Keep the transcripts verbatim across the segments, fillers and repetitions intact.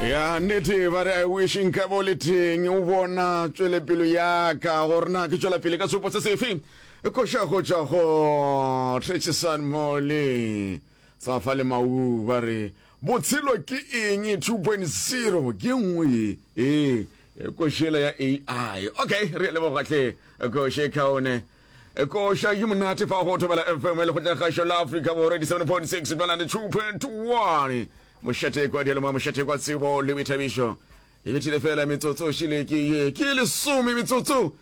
Ya nnete, ba re I wish nka bo le teng o bona tšwelepelo ya ka, gore na ke tšwela pele ka seopo se sefe. Koša go tšwa go Trechisan Mole sa fa le Mau, ba re botshelo ke eng two point zero ke nngwe ye ee košela ya A I. Okay, re leboga hle, koše kaone, koša ye monate fa go Thobela F M le kgotla la Afrika Borwa eighty-seven point six two point one, mošate kwa dialoma, mošate kwa tsebo le boithabišo. E bethile fela metsotso šile ke ye ke lesome metsotso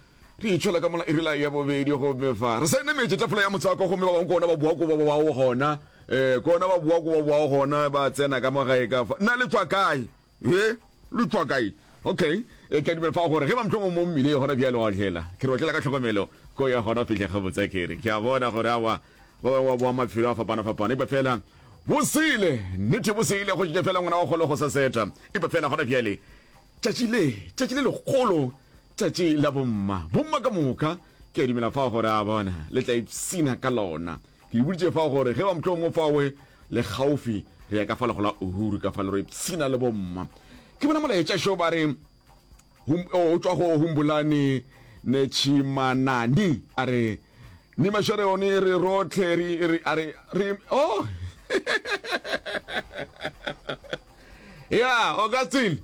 re itšhola ka mola irela ya bobedi, gomme fa re sa enemetše tafola ya motswako, gomme ba bangwe kona ba boa ko ba boago gona, um kona ba boa ko ba boago gona, ba tsena ka mo gae ka fa. Nna le tswa kae? E le tswa kae? Okay, e ka dumela fa gore ge ba mohlomong mo mmile gona bjale wa otlela, ke re otlela ka tlhokomelo ko ya gona fihle gabotse. Ke re ke a bona gore awa ba bangwe ba boa mafelo a fapana-fapana, epa fela bosele nnete bosele go tšetša fela ngwana wa kgolo go sa seta. Epa fela gona bjale tšatši le tšatši le legolo, tšatši la bomma, bomma ka moka, ke a dumela fao gore a bona le tla ipsina ka lona. Ke le boditše fao gore ge ba mohlomongwe fawe le gaufi, re ya ka fa le gola Uhuru ka fa le re ipsina le bomma. Ke bona molaetša šo, ba re o tšwa go Humbulani Netshimanani, a re ni mašareone re rotlhe re a re re oh ya Augustine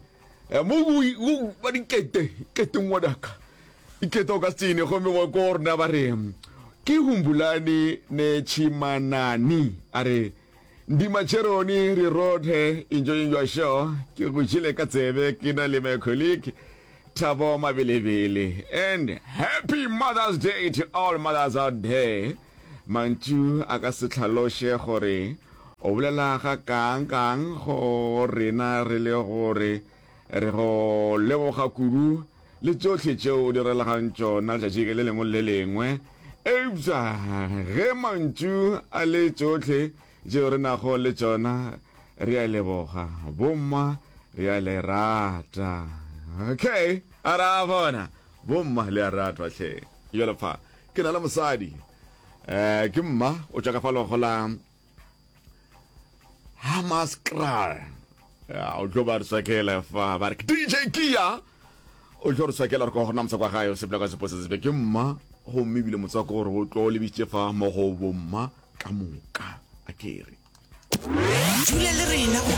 mo ba dikete kete ngwanaka ikete Augustine, gomme wa ko rona ba re ke Humbulani Netshimanani, a re ndi macheroni re rotlhe enjoying your show, ke go jele ka tsebe ke na le my colleague Thabo Mabelebele, and happy Mother's Day to all mothers out there. Mantšu a ka se tlhaloše gore o bolela ga kang kang go rena, re le gore re go leboga kudu le tšohle tšeo o di relegang tšona letšatši le lengwe le lengwe. Eupša ge mantšu a le tšohle tšeo re nago le tšona, re a leboga bomma, re a le rata. Okay, a ra bona bomma le a ratwa hle. Jalo fa ke na le mosadi, um ke mma o tšwa ka fa logo la Hammanskraal, o tlo ba re swakela fa, ba re ke D J Kia, o tlo re swakela re ko gona motswako wa gae o sepela ka sepo se sebe. Ke mma, gomme ebile motswako gore o tlo lebitše fa mo go bomma ka moka, a kere Dula le rena go